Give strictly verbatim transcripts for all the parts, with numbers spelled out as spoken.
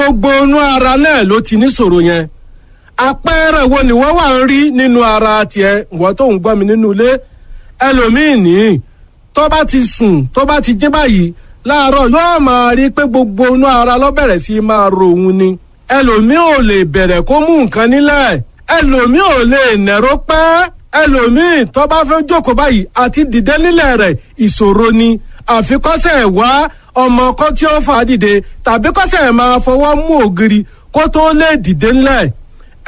Gbogbo inú ara náà ló ti níṣòro yẹn. Àpẹẹrẹ wo ni wọ́n wà ń rí nínú ara tiẹ̀, ìwọ tó ń gbọ́ mi nínú ilé? Ẹlòmíì ní tó bá ti sùn, tó bá ti jí báyìí láàárọ̀, yóò máa rí pé gbogbo inú ara ló bẹ̀rẹ̀ sí máa ro òun ni. Ẹlòmíì ò lè bẹ̀rẹ̀ kó mú nǹkan nílẹ̀, ẹlòmíì ò lè nẹ̀rọ pẹ́, ẹlòmíì tó bá fẹ́ jókòó báyìí àti dìde nílẹ̀ rẹ̀ ìṣòro ni. Àfikọ́sẹ̀ wá ọmọ kọ́ tí ó fà á dìde tàbí kọ́sẹ̀ máa fọwọ́ mú ògiri kó tó lè dìde nílẹ̀.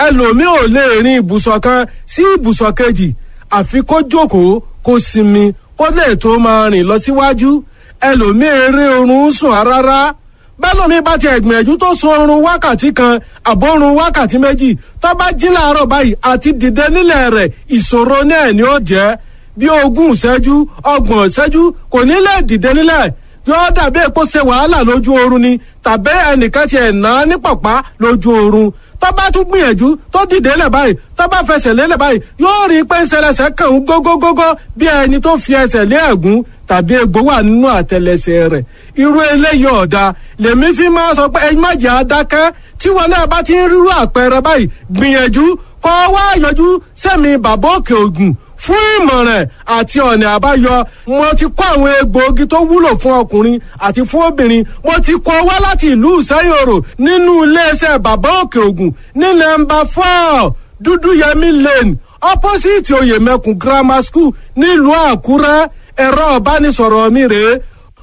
Ẹlòmíì ò lè rin ibùsọ̀ kan sí ibùsọ̀ kejì, àfi kó jókòó, kó sinmi, kó lè tó máa rìn lọ síwájú. Ẹlòmíì eré oorun sùn rárá. Bẹ́lòmíì bá ti ẹ̀gbìyànjú tó sun oorun wákàtí kan àbórun wákàtí méjì, tó bá jí láàárọ̀ báyìí àti dìde nílẹ̀ rẹ̀ ìṣòro náà ni ó jẹ́. Bí ogún ìṣẹ́jú, ọgbọ̀n ìṣẹ́jú, kò ní lè dìde nílẹ̀. Yóò dàbí èpo ṣe wàhálà lójú oorun ni, tàbí ẹnìkan ti ẹ̀ ná ní pọ̀pá lójú oorun. Tó bá tún gbìyànjú tó dìde lẹ̀ báyìí, tó bá fẹsẹ̀ lélẹ̀ báyìí, yóò rí i pé ń ṣẹlẹ̀ṣẹ̀ kàn ń gógógógó, bí ẹni tó fi ẹsẹ̀ lé ẹ̀gún tàbí egbò wà nínú àtẹlẹsẹ̀ rẹ̀. Irú eléyìí ọ̀dà lèmi fi máa sọ pé ẹyin má jẹ́ adákẹ́. Tí wọn náà bá ti ń rírú àpẹẹrẹ báyìí, gbìyànjú kọ́ wá yọjú sẹ́mi Bàbá Òkè Ògùn fún ìmọ̀ràn àti ọ̀nà àbáyọ. Mo ti kó àwọn egbòogi tó wúlò fún ọkùnrin àti fún obìnrin, mo ti kó wá láti ìlú Ìsẹ́yòrò nínú iléeṣẹ́ Bàbá Òkè Ògùn ní nọ́mbà four, Dúdúyẹmí Lane, opposite Oyèmẹkùn Grammar School, nílùú Àkúrẹ́. Ẹ̀rọ ìbánisọ̀rọ̀ mi rèé: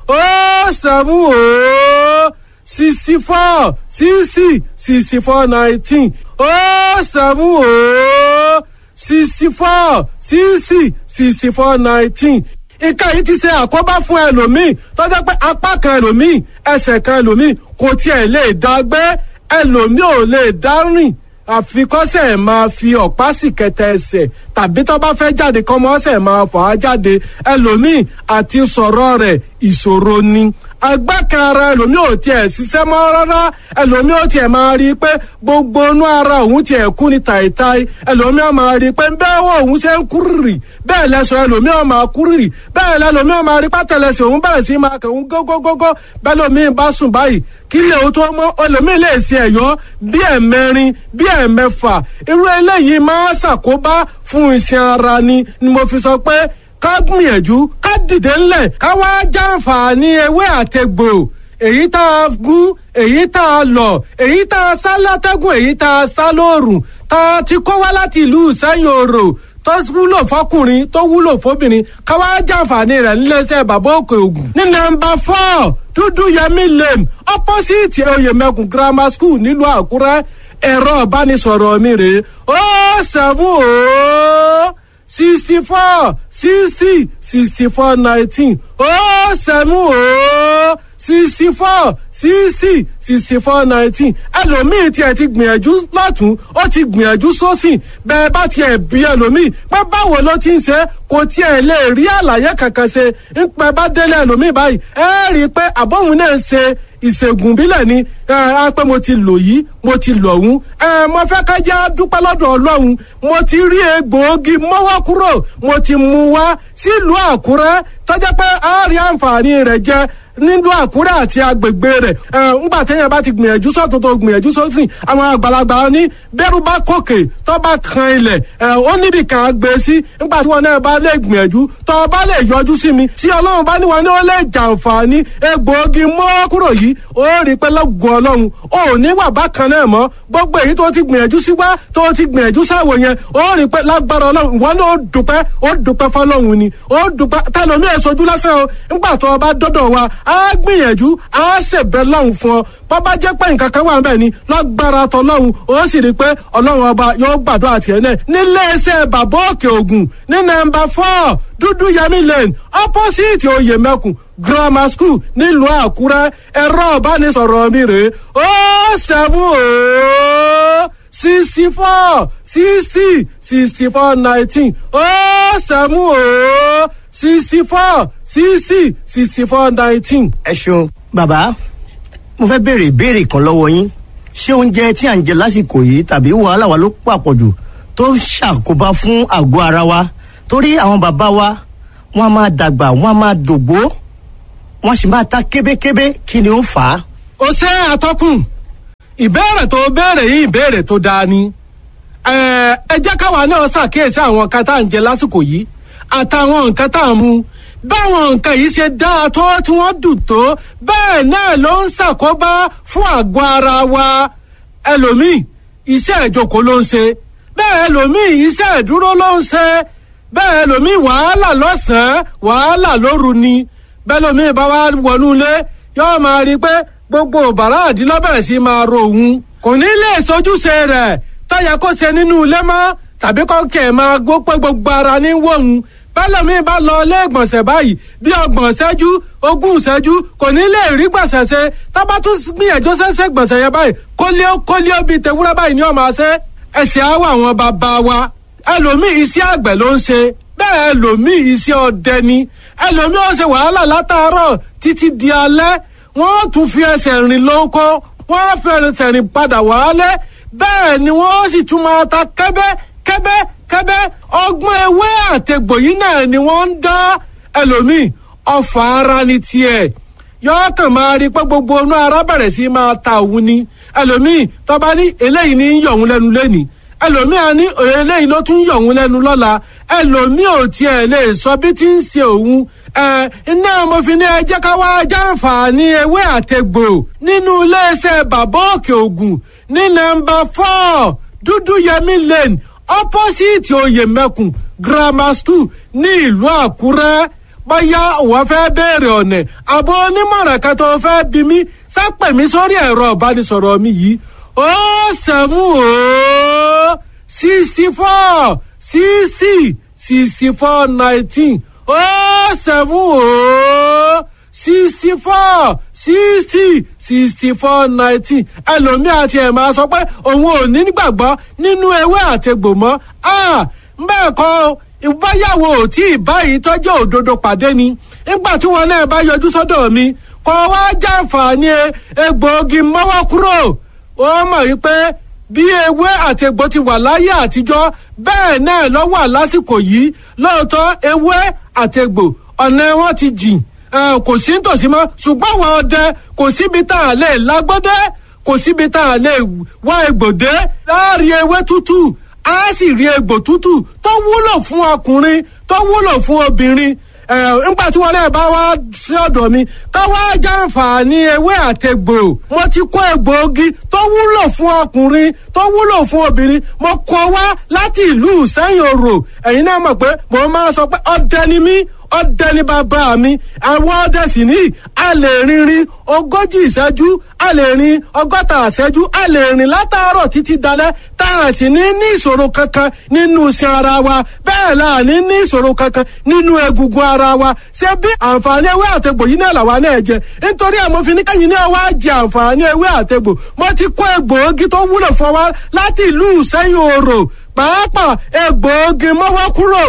ó seven ó sixty four sixty sixty four nineteen, ó seven ó sixty four sixty sixty four nineteen. Nǹkan yìí ti ṣe àkóbá fún ẹlòmíì tó jẹ́ pé apá kan ẹlòmíì, ẹsẹ̀ kan ẹlòmíì kò tiẹ̀ lè dá gbé, ẹlòmíì ò lè dá rìn, àfikọ́sẹ̀ máa fi ọ̀pá sì kẹtẹ ẹsẹ̀, tàbí tó bá fẹ́ jáde kọ́mọ́sẹ̀ máa fà á jáde. Ẹlòmíì àti sọ̀rọ̀ rẹ̀ ìṣòro ni. Agbákan ara ẹlòmíì ò tiẹ̀ ṣiṣẹ́ mọ́ rárá. Ẹlòmíì ò tiẹ̀ máa rí i pé gbogbo inú ara òun tiẹ̀ kú ni tàìtàì. Ẹlòmíì ò máa rí i pé bẹ́ẹ̀ wọ òun ṣe ń kúrìrì, bẹ́ẹ̀ lẹ́sọ̀ ẹlòmíì ò máa kúrìrì, bẹ́ẹ̀ lẹ́lòmíì ò máa rí pátẹ́lẹsẹ̀ òun bẹ̀rẹ̀ sí máa kàn ń gógógógó. Bẹ́ẹ̀ lòmíì bá sùn báyìí, kí lè o tó mọ́, ẹlòmíì lè ṣe ẹ̀yọ́ bí ẹ̀mẹrin, bí ẹ̀mẹfà. Irú eléyìí máa ṣàkóbá fún iṣan ara ni. Ni mo fi sọ pé ká gbìyànjú ká dìde ńlẹ̀, ká wá jàǹfààní ewé àtegbò, èyí tá a gún, èyí tá a lọ̀, èyí tá a sá látẹ́gùn, èyí tá a sá lóòrùn, tá a ti kó wá láti ìlú Ìsẹ́yìn Òrò, tó wúlò fọkùnrin, tó wúlò fóbìnrin, ká wá jàǹfààní rẹ̀ níléeṣẹ́ Bàbá Òkè Ògùn. Ní nọ́mbà four, Dúdúyẹmí Lane, opposite Oyèmẹkùn Grammar School, nílùú Àkúrẹ́. Ẹ̀rọ ìbánisọ̀rọ̀ mi rèé: ó seven ó sixty four sixty sixty four nineteen, ó seven ó sixty four sixty sixty four nineteen. Ẹlòmíì tiẹ̀ ti gbìyànjú lọ́tún, ó ti gbìyànjú sósì. Bẹ́ẹ̀ bá tiẹ̀ bí ẹlòmíì pé báwo ló ti ń ṣe, kò tiẹ̀ lè rí àlàyé kankan ṣe. Ń pẹ́ bá délé ẹlòmíì báyìí, ẹ rí i pé àbọ̀hún náà ń ṣe ìṣègùn bílẹ̀ ni. Ẹ á pé mo ti lò yìí, mo ti lò ọ̀hún. Ẹ mo fẹ́ ká jẹ́ dúpẹ́ lọ́dọ̀ Ọlọ́run. Mo ti rí egbòogi mọ́wọ́ kúrò, mo ti mú wá sílùú Àkúrẹ́ tọ́jà pé a rí àǹfààní rẹ̀ jẹ nílùú Àkúrẹ́ àti agbègbè rẹ̀. Ẹ ńgbà téèyàn bá ti gbìyànjú sọ́tún tó gbìyànjú sósì, àwọn àgbàlagbà ní bẹ́rù bá kòkè tó bá kan ilẹ̀, ẹ ó níbi kan á gbé sí. Ńgbà tí wọn náà bá lè gbìyànjú, tó bá lè yọjú sí mi, tí Ọlọ́run bá ní wọn ní ó lè jàǹfààní egbòogi mọ́ kúrò yìí, ó rí pé lọ́gùn Ọlọ́run ò ní wà bákan náà mọ́. Gbogbo èyí tó ti gbìyànjú sí wá, tó ti gbìyànjú sáwò yẹn, ó rí pé lágbára Ọlọ́run ìwọ náà ó dúpẹ́, ó dúpẹ́ fọlọ́run ni, ó dúpẹ́. Tẹlomi ẹ̀ sojú lásán o. Ńgbà tó o bá dọ́dọ̀ wa, á gbìyànjú, á ṣèbẹ̀ lọ́hùn fún ọ. Bó bá jẹ́ pé nǹkan kan wà níbẹ̀ ni, lágbára tọlọ́hun, ó sì rí i pé Ọlọ́run Ọba yóò gbàdúrà tiẹ̀ náà. Nílé iṣẹ́ Bàbá Òkè Ògùn ní nọ́mbà four, Dúdú Yẹmí Lane, opposite Oyèmẹkùn Grammar School, nílùú Àkúrẹ́. Ẹ̀rọ ìbánisọ̀rọ̀ mi rèé: ó seven ó sixty four sixty sixty four nineteen, ó seven ó sixty four sixty sixty four nineteen. Ẹ ṣeun bàbá. Mo fẹ́ béèrè ìbéèrè kan lọ́wọ́ yín. Ṣé oúnjẹ tí à ń jẹ lásìkò yìí tàbí wàhálà wa ló pàpọ̀jù tó ń ṣàkóbá fún àgọ́ ara wa? Torí àwọn bàbá wa, wọ́n á máa dàgbà, wọ́n á máa dògbó, wọ́n sì máa ta kébékébé. Kí ni ó fà á? Ó ṣe, àtọkùn. Ìbéèrè tó béèrè yìí, ìbéèrè tó dáa ni. Ẹ jẹ́ káwa náà ṣàkíyèsí àwọn nǹkan tá à ń jẹ lásìkò yìí àtàwọn nǹkan tá à ń mu. Báwọn nǹkan yìí ṣe dáa tó, tí wọ́n dùn tó, bẹ́ẹ̀ náà ló ń ṣàkóbá fún àgọ́ ara wa. Ẹlòmíì, iṣẹ́ ìjókòó ló ń ṣe. Bẹ́ẹ̀ ẹlòmíì, iṣẹ́ ìdúró ló ń ṣe. Bẹ́ẹ̀ ẹlòmíì, wàhálà lọ́sàn-án, wàhálà lóru ni. Bẹ́ẹ̀ ẹlòmíì bá wá wọnú ilé, yóò máa rí i pé gbogbo bàrá àdínlọ́bẹ̀rẹ̀ sí máa ro òun, kò ní lè sojúṣe rẹ̀ tọ́yẹ kó ṣe nínú ilé mọ́, tàbí kọ́kẹ́ máa gbó pé gbogbo ara ní wọ̀hún. Bẹ́lẹ̀mí bá lọ ilé ìgbọ̀nsẹ̀ báyìí, bí ọgbọ̀n ṣẹ́jú, ogún ṣẹ́jú, kò ní lè rí gbọ̀nsẹ̀ ṣe. Tábà tún gbìyànjú ṣẹ́ṣẹ́ gbọ̀nsẹ̀ yẹn báyìí, kólíó kólíó bíi tewúrẹ́ báyìí ni ó máa ṣe. Ẹ̀sìn àwọ̀ àwọn bàbá wa, ẹlòmíì iṣẹ́ àgbẹ̀ ló ń ṣe. Bẹ́ẹ̀ ẹlòmíì, iṣẹ́ ọdẹ ni. Ẹlòmíì ó ṣe wàhálà látàárọ̀ títí di alẹ́, wọ́n tún fi ẹsẹ̀ rìn lóko, wọ́n fi ẹsẹ̀ rìn padà wálé. Bẹ́ẹ̀ ni wọ́n sì tún máa ta kẹ́bẹ́ kẹ́bẹ́ kẹ́bẹ́. Ọgbọ́n ewé àtẹ̀gbò yìí náà ni wọ́n ń dá. Ẹlòmíì, ọfà ara ni tiẹ̀, yọ̀ọ́ kàn máa rí pé gbogbo inú ara bẹ̀rẹ̀ sí máa ta òun ni. Ẹlòmíì tọ́ba ní eléyìí ní yọ̀ òun lẹ́nu lẹ́nìí, ẹlòmíì á ní eléyìí ló tún yọ̀ òun lẹ́nu lọ́la. Ẹlòmíì ò tiẹ̀ lè sọ bí tí ń ṣe òun. Ẹ iná mo fi ní ẹ jẹ́ ká wá jàǹfààní ewé àtẹ̀gbò nínú iléeṣẹ́ Bàbá Òkè Ògùn ní nọ́mbà four, Dúdú Yẹmí Lane, opposite Oyèmẹkùn Grammar School ní ìlú Àkúrẹ́. Bóyá òun fẹ́ béèrè ọ̀nà àbọ̀ onímọ̀ràn kan tó fẹ́ bí mi, sápẹ̀ mi sórí ẹ̀rọ ìbánisọ̀rọ̀ mi yìí: ó sẹ́mu ó sixty four sixty sixty four nineteen, ó sẹ́mu ó sixty four sixty sixty four nineteen. Ẹlòmíì àti ẹ̀ máa sọ pé òun ò ní gbàgbọ́ nínú ewé àtegbò mọ́. Bẹ́ẹ̀ kọ́, ìbáyàwó ò tí ì báyìí tọ́jú òdodo pàdé ni. Nígbà tí wọn náà bá yọjú sọ́dọ̀ mi, kọ́ wá jàǹfààní egbòogi mọ́wọ́ kúrò, ó mọ̀ wípé bí ewé àtegbò ti wà láyé àtijọ́, bẹ́ẹ̀ náà ló wà lásìkò yìí. Lóòótọ́, ewé àtegbò ọ̀nà wọn ti jìn, kò sí nítòsí mọ́, ṣùgbọ́n àwọn ọdẹ, kò síbi tá a lè lágbọ́dẹ́, kò síbi tá a lè wá egbòdé láàrin ewé tútù, á sì rí egbò tútù tó wúlò fún ọkùnrin, tó wúlò fún obìnrin. Nígbà tí wọn náà bá wá sí ọ̀dọ̀ mi ká wá jàǹfààní ewé àtegbò, mo ti kó egbòogi tó wúlò fún ọkùnrin, tó wúlò fún obìnrin, mo kó wá láti ìlú Ìsẹ́yìn Òrò. Ẹ̀yin náà mọ̀ pé mo máa sọ pé ọdẹ ni mí, ọdẹ ni bàbá mi. Àwọn ọdẹ sì ní a lè rìnrìn ogójì ìṣẹ́jú, a lè rìn ọgọ́ta ìṣẹ́jú, a lè rìn látàárọ̀ títí dalẹ́, tá a sì ní ní ìṣòro kankan nínú iṣan ara wa. Bẹ́ẹ̀ la ní ní ìṣòro kankan nínú egungun ara wa. Ṣé bí àǹfààní ewé àtegbò yìí náà làwa náà jẹ? Nítorí ẹ̀ mo fi ní kẹ́yìn náà wá jẹ àǹfààní ewé àtegbò. Mo ti kó egbòogi tó wúlò fún wa láti ìlú Ìsẹ́yìn Òrò, pàápàá egbòogi mọ́wọ́ kúrò,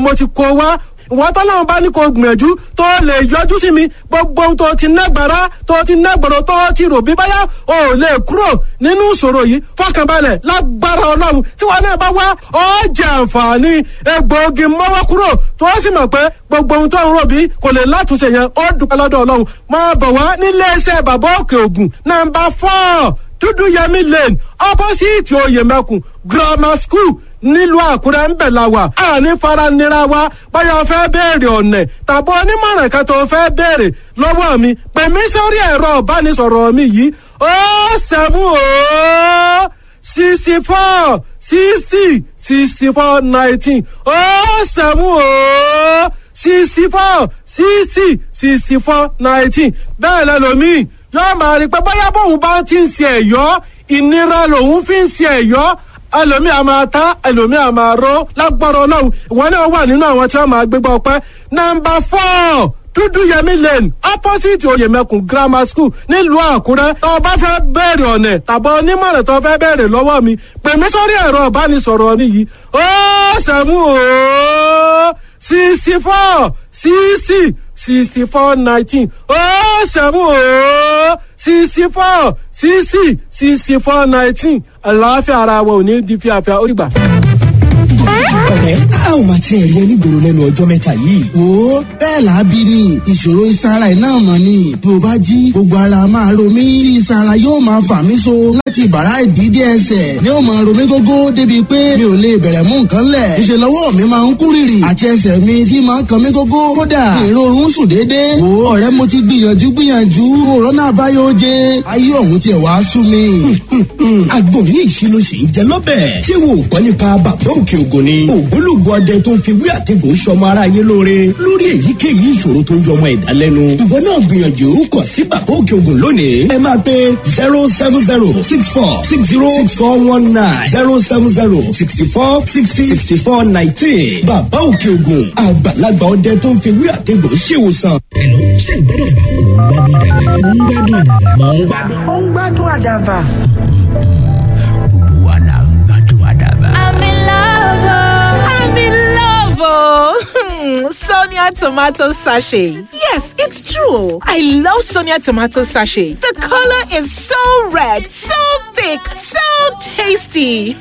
mo ti kó wá. Ìwọ́n tọ́lọ́run bá ní kó gbìyànjú tó lè yọjú sí mi, gbogbo ohun tó ti nágbára, tó ti nágbọ̀rọ̀, tó ti rò bí báyà ò lè kúrò nínú ìṣòro yìí, fọkànbalẹ̀, lágbára Ọlọ́run, tí wọn náà bá wá, ó jẹ àǹfààní egbòogi mọ́wọ́ kúrò, tó sì mọ̀ pé gbogbo ohun tó ń rò bí kò lè látúnṣe yẹn, ó dúpẹ́ lọ́dọ̀ Ọlọ́run. Máa bọ̀ wá nílé iṣẹ́ Bàbá Òkè Ògùn, nọ́mbà four, Dúdú Yẹmí Lane, opposite Oyèmẹkùn Grammar School nílùú Àkúrẹ́ ń bẹ̀ la wà. Àní faranira wa. Báyọ̀ fẹ́ béèrè ọ̀nà tàbí onímọ̀ràn kan tó fẹ́ béèrè lọ́wọ́ mi, pè mí sórí ẹ̀rọ ìbánisọ̀rọ̀ mi yìí: ó seven ó sixty four sixty sixty four nineteen, ó seven ó sixty four sixty sixty four nineteen. Bẹ́ẹ̀ lẹ́lòmíì yóò máa rí pé bóyá bóun bá ti ń ṣe ẹ̀yọ́, ìnira lòun fi ń ṣe ẹ̀yọ́. Ẹlòmíì a máa ta, ẹlòmíì a máa ró. Lágbára Ọlọ́run, ìwọ náà wà nínú àwọn tí wọ́n máa gbégbá ọpẹ́. Nọ́mbà four, Dúdú Yẹmí Lane, opposite Oyèmẹkùn Grammar School nílùú Àkúrẹ́. Tó o bá fẹ́ bẹ̀rẹ̀ ọ̀nà tàbí onímọ̀ràn tó fẹ́ bẹ̀rẹ̀ lọ́wọ́ mi, pè mí sórí ẹ̀rọ ìbánisọ̀rọ̀ mi yìí: ó sẹ́mu ó sixty four sixty sixty four nineteen, ó sẹ́mu ó sixty four sixty sixty four nineteen. Àlàáfíà ara wa ò ní di fíafíà. Ó dìgbà. Ọ̀rẹ́, a ò máa tiẹ̀ rí ẹ nígboro lẹ́nu ọjọ́ mẹ́ta yìí. Wo, bẹ́ẹ̀ là á bí ni ìṣòro iṣan ara ẹ̀ náà mọ̀ ni. Bí o bá jí, gbogbo ara máa ro mí tí iṣan ara yóò máa fà mí so láti ìbàrá ìdí dé ẹsẹ̀ ni ó máa ro mí gógó débi pé mi ò lè bẹ̀rẹ̀ mú nǹkan lẹ̀. Ìṣe lọ́wọ́ mi máa ń kú rìrì àti ẹsẹ̀ mi tí máa ń kan mí gógó, kódà ìrorun sùn déédéé. Wo ọ̀rẹ́, mo ti gbìyànjú gbìyànjú, òrónà àbáyọ oje, ayé ọ̀hún tiẹ̀ wá sú mi. Àgbo ní ìṣirò sì ń jẹ lọ́bẹ̀. Ṣé wo ò gbọ́ nípa Bàbá Òkè Ògùn ni? Ògbólógbò ọdẹ tó ń fi wí àtẹ̀gùn sọmọ ara yé lóore lórí èyíkéyìí ìṣòro tó ń yọmọ ẹ̀dá lẹ́nu. Ìwọ náà gbìyànjú kàn sí Bàbá Òkè Ògùn lónìí. Ẹ máa pe zero seven zero six four six zero six four one nine, zero seven zero sixty four sixty sixty four nineteen. Bàbá Òkè Ògùn, àgbàlagbà ọdẹ tó ń fi wí àtẹ̀gùn ṣèwòsàn. Hello, ṣé ìgbádùn àdàbà? Mò ń gbádùn àdàbà. Mò ń gbádùn àdàbà. Ó ń gbádùn àdàbà. Gbogbo wa là ń gbádùn àdàbà. I'm in love. oh. I'm in love, oh. Hmm, Sonia tomato sachet. Yes, it's true. I love Sonia tomato sachet. The color is so red, so thick, so tasty.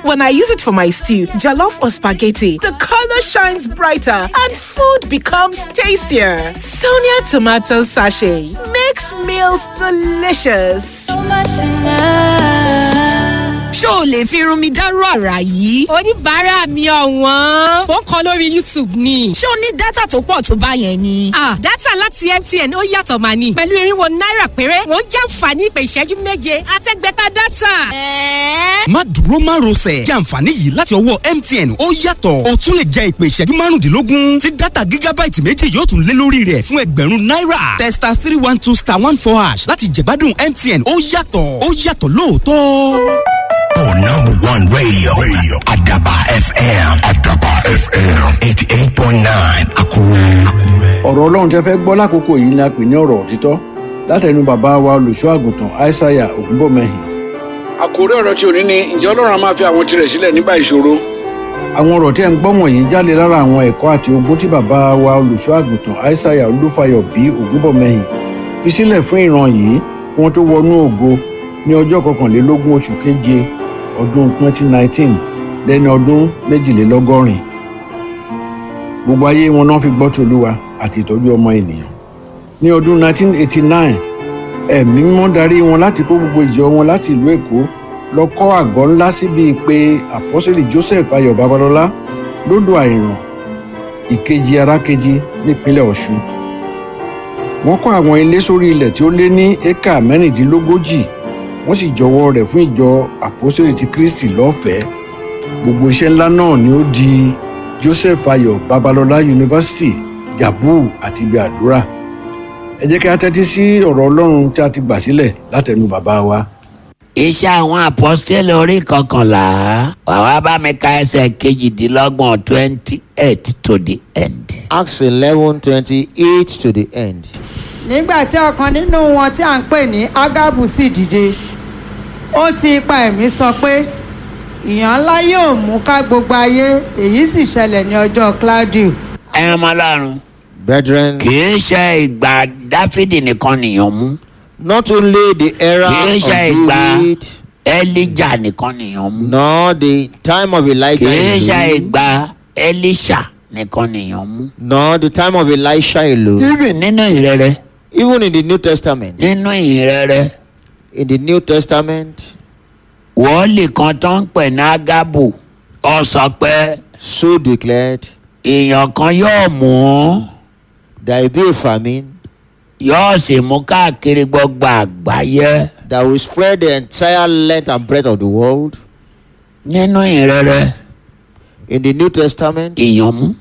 When I use it for my stew, jollof or spaghetti, the color shines brighter and food becomes tastier. Sonia tomato sachet makes meals delicious. So much in love. Ṣó o lè fi irun mi dárú àrà yìí? Oníbàárà mi ọ̀wọ́n, ó ń kọ lórí YouTube ni. Ṣé o ní data tó pọ̀ tó bá yẹn ni? Ah, data láti M T N ó yàtọ̀ mà ní. Pẹ̀lú irinwó náírà péré, wọ́n jàǹfààní ìpè ìṣẹ́jú méje àtẹ́gbẹ́ta data. Ẹ̀ẹ́. Má dúró má rọsẹ̀, jẹ́ àǹfààní yìí láti ọwọ́ M T N, ó yàtọ̀. O tún lè jẹ ìpè ìṣẹ́jú márùndínlógún tí data gigabyte méjì yóò tún lé lórí rẹ̀ fún ẹgbẹ̀rún náírà. Tẹ star three one two star one four hash láti jẹ̀gbádùn M T N. Ó yàtọ̀, ó yàtọ̀ lóòótọ́. For number one radio, radio. Adaba F M. Adaba F M. eighty-eight point nine Akure. Ọ̀rọ̀ Ọlọ́run tẹ́ fẹ́ gbọ́ lákòókò yìí ni a pè ní ọ̀rọ̀ òtítọ́ látẹnu bàbá wa olùṣọ́ àgùntàn Aishaiya Ògúnbọ̀mẹ́hìn. Àkórí ọ̀rọ̀ tí òní ni, ǹjẹ́ Ọlọ́run á máa fi àwọn tirẹ̀ sílẹ̀ nígbà ìṣòro? Àwọn ọ̀rọ̀ tí ẹ̀ ń gbọ́ wọ̀nyí jáde lára àwọn ẹ̀kọ́ àti ogún tí bàbá wa olùṣọ́ àgùntàn Aishaiya Olúfayọ bí Ògúnbọ̀mẹ́hìn fi sílẹ̀ fún ìran yìí kí wọ́n tó wọnú ògo ní ọjọ́ kọkànlélógún oṣù keje ọdún twenty nineteen lẹ́ni ọdún méjìlélọ́gọ́rin. Gbogbo ayé wọn náà fi gbọ́ tòlúwa àti ìtọ́jú ọmọ ènìyàn. Ní ọdún nineteen eighty-nine, Ẹ̀mí Mímọ́ darí wọn láti kó gbogbo ìjọ wọn láti ìlú Èkó lọ kọ́ àgọ́ ńlá síbi pé Àpọ́sítélì Joseph Ayọ̀ Babalọ́lá lódò Àìràn, Ìkejì Arákejì, nípínlẹ̀ Ọ̀ṣun. Wọ́n kọ́ àwọn ilé sórí ilẹ̀ tí ó lé ní éka mẹ́rìndínlógójì, wọ́n sì jọwọ́ rẹ̀ fún Ìjọ Àpọ́sítélì ti Kristi lọ́fẹ̀ẹ́. Gbogbo iṣẹ́ ńlá náà ni ó di Joseph Ayọ̀ Babalọ́lá University, Jabu àti ibi àdúrà. Ẹ jẹ́ kí a tẹ́tí sí ọ̀rọ̀ Ọlọ́run tí a ti gbà sílẹ̀ látẹnu bàbá wa. Iṣẹ́ Àwọn Àpọ́stélì orí kọkànlá, wàá bá mi ka ẹsẹ̀ kejìdínlọ́gbọ̀n, twenty eight to the end. Acts eleven twenty eight to the end. Nígbà tí ọ̀kan nínú wọn tí à ń pè ní Ágábù sì dìde, ó ti ipa ẹ̀mí sọ pé ìyàn ńlá yóò mú ká gbogbo ayé. Èyí sì ṣẹlẹ̀ ní ọjọ́ Claudio. Ẹ ọmọ Ọlọ́run. Brethren, Kì í ṣe ìgbà Dáfídì nìkan nìyàn mú. not only the era Kì í of ṣe ìgbà David, Elijah nìkan nìyàn mú. nor the time of Elijah, Kì í ṣe alone, ìgbà Elisha nìkan nìyàn mú. nor the time of Elisha alone. Even nínú ìrere. Even in the New Testament, Nínú ìrere. in the New Testament, Wòólì kan tó ń pè ní Ágábù, ó sọ pé so declared, èèyàn kan yóò mú, there will be a famine yóò sì mú káàkiri gbogbo àgbáyé. that will spread the entire length and breadth of the world. Nínú ìrere, In the New Testament, èèyàn mú.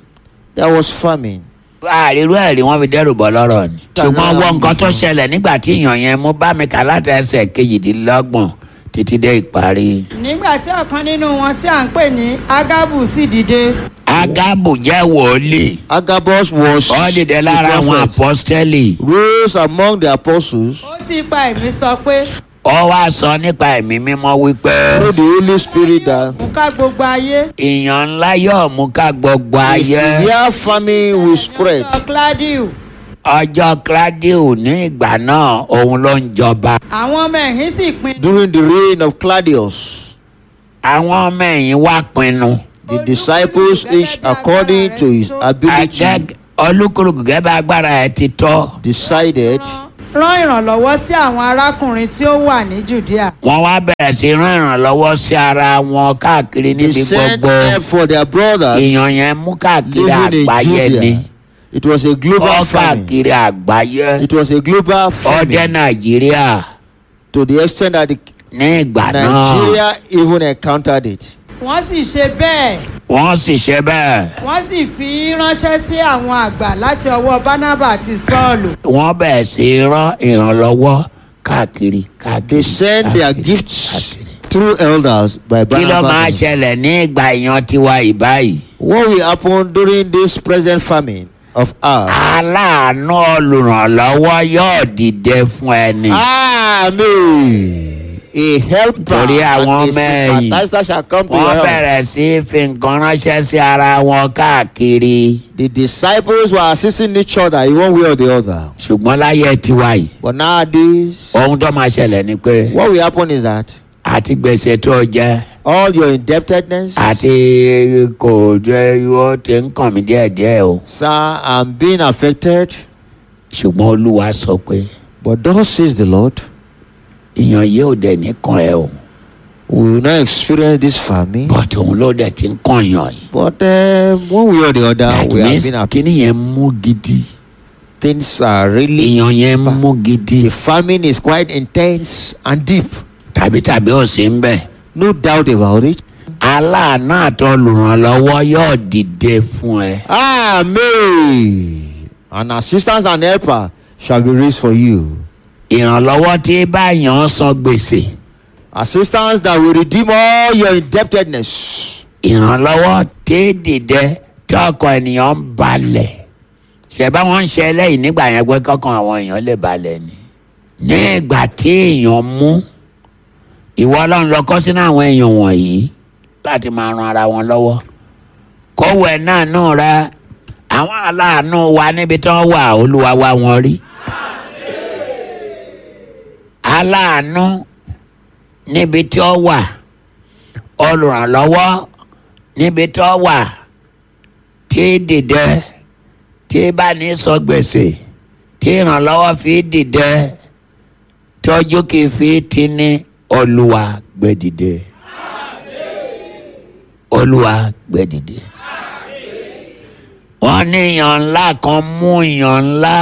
there was famine. Àrírú ẹ̀rí wọn fi dẹ́rù bọ́ lọ́rọ̀ ni. Ṣùgbọ́n wọ́n nǹkan tó ṣẹlẹ̀ nígbà tí èèyàn yẹn mú, bá mi kà láti ẹsẹ̀ kejìdínlọ́gbọ̀n títí dé ìparí. Nígbà tí ọ̀kan nínú wọn tí à ń pè ní Ágábù sì dìde, Ágábù jẹ́ wòlíì. Agabus was Ó dìde lára the àwọn prophet, àpọ́stẹ́lì. rose among the apostles ó ti ipa ẹ̀mí sọ pé Ó wá sọ nípa Ẹ̀mí Mímọ́ wípé through the Holy Spirit that mú ká gbogbo ayé. ìyàn ńlá yóò mú ká gbogbo a ayé. severe famine will spread. Ọjọ́ Claudio. Ọjọ́ Claudio ní ìgbà náà, òun ló ń jọba. Àwọn ọmọ ẹ̀yìn sì pinnu During the reign of Claudius, Àwọn ọmọ ẹ̀yìn wá pinnu. The disciples each according to his ability Agag- olúkúlùkù gẹ́gẹ́ bá agbára ẹ̀ ti tọ́. decided rán ìrànlọ́wọ́ sí àwọn arákùnrin tí ó wà ní Judea. Wọ́n wá bẹ̀rẹ̀ sí rán ìrànlọ́wọ́ sí ara wọn káàkiri they níbi sent gbogbo. help for their brothers Ìyàn yẹn mú káàkiri living in àgbáyé ni. Judea. It was a global Ó famine. káàkiri àgbáyé. It was a global Ó dé famine Nàìjíríà to the extent that the ní ìgbà náà. Nigeria even encountered it. Wọ́n sì ṣe bẹ́ẹ̀. Wọ́n sì ṣe bẹ́ẹ̀. Wọ́n sì fi í ránṣẹ́ sí àwọn àgbà láti ọwọ́ Bánábà àti Sọ́ọ̀lù. Wọ́n bẹ̀rẹ̀ sí rán ìrànlọ́wọ́ káàkiri káàkiri. They sent their káàkiri, gifts káàkiri. through elders by Kí ló máa Barnabas. ṣẹlẹ̀ ní ìgbà ìyan tiwa ìbáyìí? What will happen during this present famine of ours? Aláàánú olùrànlọ́wọ́ yóò dìde fún ẹni. Amen. A helper Torí and àwọn a ọmọ ẹ̀yìn sympathizer shall come to your wọ́n help. bẹ̀rẹ̀ sí í fi nǹkan ránṣẹ́ sí ara wọn káàkiri. The disciples were assisting each other in one way or the other. Ṣùgbọ́n láyé tiwa yìí, But nowadays, ohun tó máa ṣẹlẹ̀ ni pé what will happen is that àti gbèsè tó jẹ all your indebtedness, àti kò jẹ́ ó ti ń kàn mí díẹ̀díẹ̀ o. sir, I'm being affected. Ṣùgbọ́n Olúwa sọ pé But thus says the Lord, ìyàn yìí ò dẹ̀ ní kàn ẹ́ o. we will not experience this famine. But òun ló dẹ̀ ti ń kàn yàn yìí. But um, one way or the other, That we have means been affected. kíní yẹn mú gidi. Things are really. Ìyàn yẹn mú gidi. The famine is quite intense and deep. Tàbí tàbí ò sí ń bẹ̀. No doubt about it. Aláàánú àtọlùrànlọ́wọ́ yóò dìde fún ẹ. Amen. An assistance and helper shall be raised for you. Ìrànlọ́wọ́ tí báyàn san gbèsè. Assistance that will redeem all your indebtedness. Ìrànlọ́wọ́ tí dìde tí ọkàn ènìyàn ń balẹ̀. Ṣẹ̀bá wọn ń ṣe eléyìí nígbà yẹn pé kọ́kàn àwọn èèyàn lè balẹ̀ ni. Ní ìgbà tí èèyàn mú ìwọ Ọlọ́run lọ kọ́ sínú àwọn èèyàn wọ̀nyí láti máa ran ara wọn lọ́wọ́. Kówó ẹ̀ náà nù rẹ àwọn aláàánú wa níbi tí wọ́n wà Olúwa wá wọn rí. Aláàánú níbi tí ó wà olùrànlọ́wọ́ níbi tí ó wà tí dìde tí bá ní sọ gbèsè tí ìrànlọ́wọ́ fi dìde tọ́jú kì í fi ti ní Olúwa gbé dìde. Olúwa gbé dìde. Wọ́n ní ìyàn ńlá kan mú ìyàn ńlá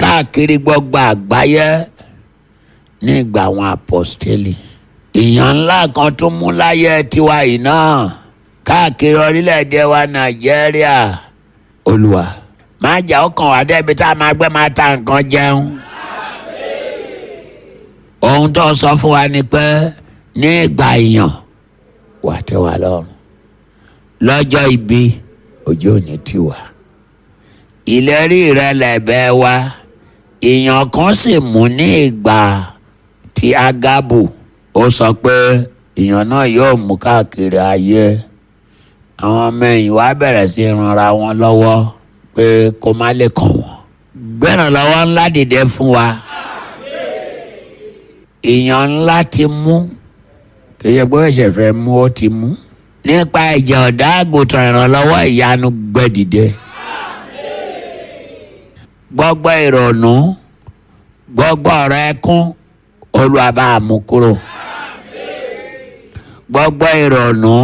káàkiri gbogbo àgbáyé nígbà àwọn apọ́stélì. Ìyàn ńlá kan tó mú láyé tiwa yìí náà káàkiri orílẹ̀-èdè wa Nàìjíríà. Olúwa má jà ó kàn wá débi tá a máa gbé máa ta nǹkan jẹun. Ohun tó sọ fún wa ni pé ní ìgbà ìyàn wà tẹ́ wa lọ́rùn. Lọ́jọ́ ibi ojú ò ní tì wá. Ìlérí rẹ lẹ̀bẹ̀ wa. Ìyàn kan sì mú ní ìgbà tí Ágábù ó sọ pé ìyàn náà yóò mú káàkiri ayé. Àwọn ọmọ ẹ̀yìn wa bẹ̀rẹ̀ sí ranra wọn lọ́wọ́ pé kó má lè kàn wọ́n. Gbẹ̀rànlọ́wọ́ ńlá dìde fún wa. Ìyàn ńlá ti mú kì í ṣe pé ó ṣẹ̀ṣẹ̀ fẹ́ mú ó ti mú. Nípa ẹ̀jẹ̀ ọ̀dá àgùntàn ìrànlọ́wọ́ ìyanu gbẹ dìde. Gbogbo ìrònú gbogbo ọ̀rọ̀ ẹkún Olúwa bá a mú kúrò. Gbogbo ìrònú